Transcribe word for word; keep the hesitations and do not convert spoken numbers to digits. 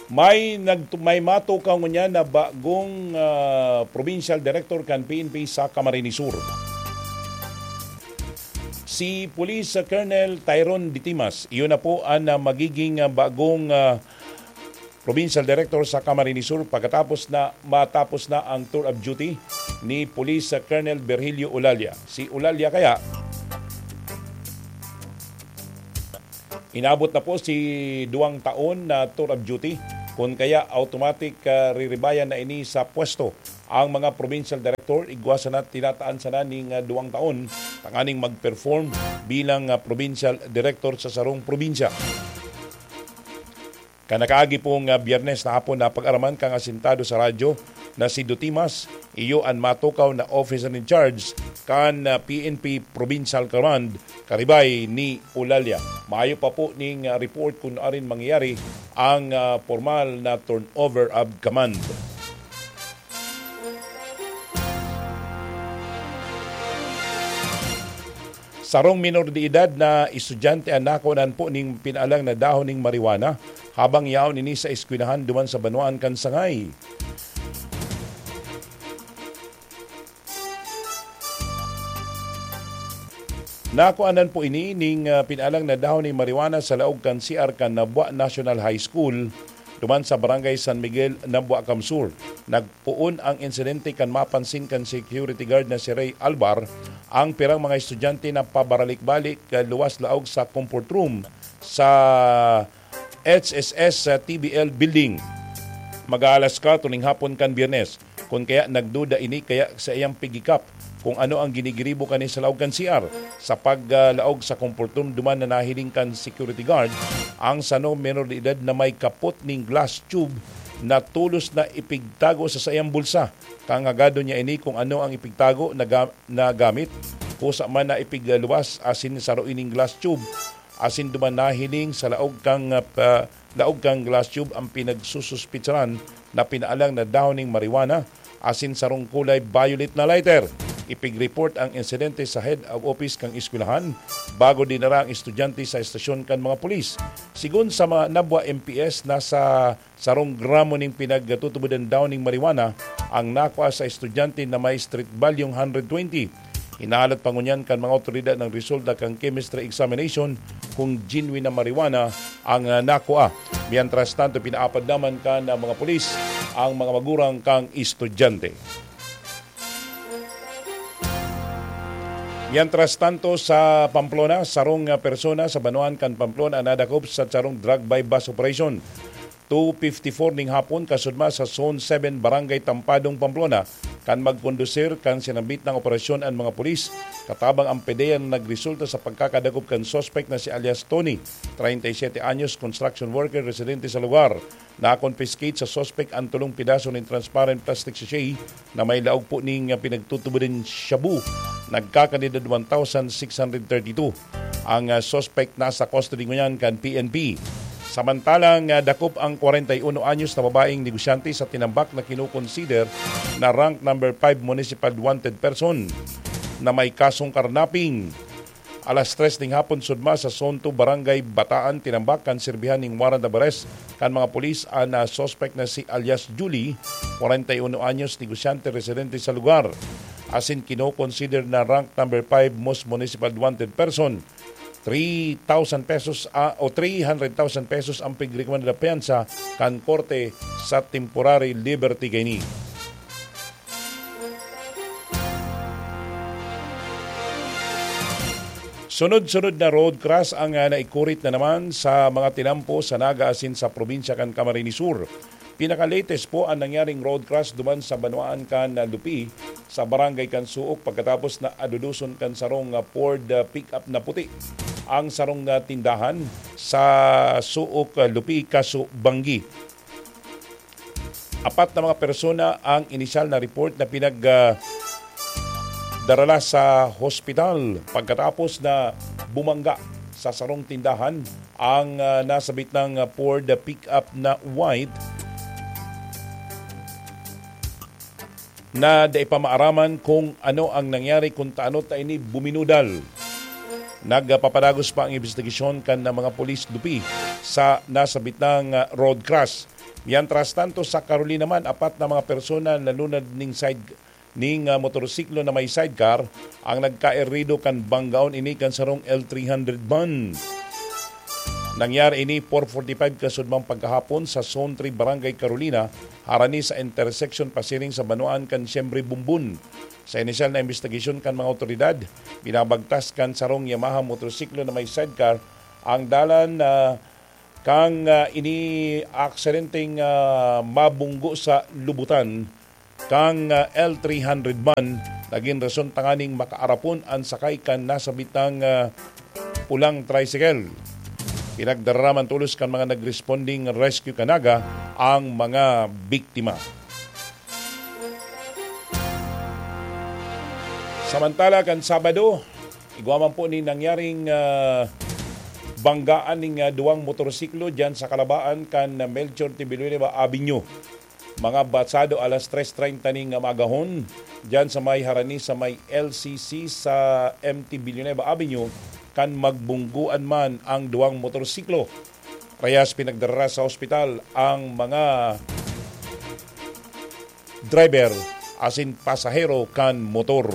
May nagtu-, may matukaw ngunyan na bagong, ah, provincial director kan P N P sa Camarines Sur. Si Police Colonel Tyron Ditimas, iyon na po ang, ah, magiging, ah, bagong, ah, provincial director sa Camarines Sur pagkatapos na matapos na ang tour of duty ni Police Colonel Virgilio Olalia. Si Olalia kaya, inabot na po si duwang taon na tour of duty, kun kaya automatic, ah, riribayan na ini sa pwesto. Ang mga provincial director, igwa sana, tinataan sana ning, ah, duwang taon tanganing mag-perform bilang, ah, provincial director sa sarong probinsya. Kan nakaagi pong, ah, Biyernes na hapon, napag-araman kan asintado sa radyo na si Dutimas, iyo an matukaw na officer in charge kan, ah, P N P Provincial Command, karibay ni Olalia. Mayo pa po ning, ah, report kun arin mangyayari ang, ah, formal na turnover of command. Sarong minor de edad na estudyante an nakunan po ning pinalang na dahon ning marijuana habang yaon ini sa eskwelahan duman sa banwaan kan Sangay. Nakuanan po ini ning, ah, pinalang na dahon ning marijuana sa laog kan C R kan Nabua National High School duman sa Barangay San Miguel, Nabua, Camsur. Nagpoon ang insidente kan mapansin kan security guard na si Ray Albar ang pirang mga estudyante na pabaralik-balik, ah, luwas laog sa comfort room sa H S S T B L building. Mag-aalas kwatro ning hapon kan Biyernes. Kun kaya nagduda ini kaya sa iyang pigikap kung ano ang ginigiribo kani sa laog kan C R. Sa paglaog sa comfort room duman na nahiling kan security guard ang sano menor de edad na may kapot ning glass tube na tolos na ipigtago sa saiyang bulsa. Kangagado niya ini kung ano ang ipigtago na ga-, na gamit. Kusa man na ipigluwas asin saro ining glass tube asin duman nahiling sa laog kan, ah, pa-, laog kan glass tube ang pinagsususpetsahan na pinaalang na dahon ning marijuana asin sarong kulay violet na lighter. Ipig-report ang insidente sa head of office kan eskwelahan bago dinara ang estudyante sa estasyon kan mga pulis. Sigon sa mga Nabua M P S, nasa sarong gramo ning pinagtutubodan daw ning marijuana ang nakua sa estudyante na may street value hundred twenty. Hinahalat pa ngunyan kan mga awtoridad ang resulta kan chemistry examination kung genuine na marijuana ang, ah, nakua. Mientras tanto, pinaapad naman kan, ah, mga pulis ang mga magurang kan estudyante. Mientras tanto, sa Pamplona, sarong, ah, persona sa banwaan kan Pamplona nadakop sa sarong drug buy-bust operation. Two fifty-four ning hapon, kasudma sa Zone seven, Barangay Tampadong, Pamplona, kan magkondusir kan sinambit na operasyon an mga pulis, katabang ang PDEA na nagresulta sa pagkakadakop kan suspek na si alias Tony, treinta y siete anyos, construction worker, residente sa lugar. Na-confiscate sa suspek ang tulong pidaso nin transparent plastic sachet na may laog po ning, ah, pinagtutubo nin shabu. Nagkakanidad one thousand six hundred thirty-two. Ang, ah, suspect nasa custody ngunyan kan P N P. Samantalang, ah, dakop ang kwarenta y uno anyos na babaeng negosyante sa Tinambac na kinokonsider na rank number five municipal wanted person na may kasong karnaping. Alas tres ning hapon, sudma sa Zone two, Barangay Bataan, Tinambac, kan sirbihan ning warrant of arrest kan mga pulis an, ah, suspect na si alias Julie, kwarenta y uno anyos, negosyante, residente sa lugar. Asin kinokonsider na rank number five most municipal wanted person. Three thousand pesos, ah, o three hundred thousand pesos ang pigrekomenda na piyansa kan korte sa temporary liberty kaini. Sunod-sunod na road crash ang, ah, naikurit na naman sa mga tinampo sa Naga asin sa probinsya kan Camarines Sur. Pinaka-latest po ang nangyaring road crash duman sa banwaan kan, ah, Lupi, sa barangay kan Suok, pagkatapos na aduduson kan sarong, ah, Ford, ah, pickup na puti ang sarong, ah, tindahan sa Suok, ah, Lupi, Caso Banggi. Apat na mga persona ang inisyal na report na pinag, ah, darala sa hospital pagkatapos na bumangga sa sarong tindahan ang, ah, nasabit ng, ah, Ford pickup na white na dai pa maaraman kung ano ang nangyari, kung taano ta ini buminudal. Nagpapadagos pa ang imbestigasyon kan mga pulis Lupi sa nasabitang, ah, road crash. Mientras tanto, sa Carolina man, apat na mga persona nalunad ning side, ning, ah, motorsiklo na may sidecar ang nagkaerido kan banggaon ini kan sarong L three hundred van. Nangyari ini four forty-five kasudmang pagkahapon sa Zone three, Barangay Carolina, harani sa intersection pasiring sa banwaan kan Siembre Bumbun. Sa inisyal na imbestigasyon kan mga awtoridad, binabagtas kan sarong Yamaha motorsiklo na may sidecar ang dalan, ah, kan, ah, ini aksidenteng, ah, mabunggo sa lubutan kan, ah, L three hundred van. Nagin rason tanganing makaarapon an sakay kan nasabitang, ah, pulang tricycle. Pinagdararaman tolos kan mga nagresponding rescue kanaga ang mga biktima. Samantala, kan Sabado, igwa man po ni nangyaring, ah, banggaan ning, ah, duwang motorsiklo diyan sa kalabaan kan Melchor T. Villanueva Avenue. Mga batsado alas tres treinta ning, ah, magahon, diyan sa may harani sa may L C C sa M T Villanueva Avenue, kan magbungguan man ang duwang motorsiklo. Parehas pinagdara sa ospital ang mga driver asin pasahero kan motor.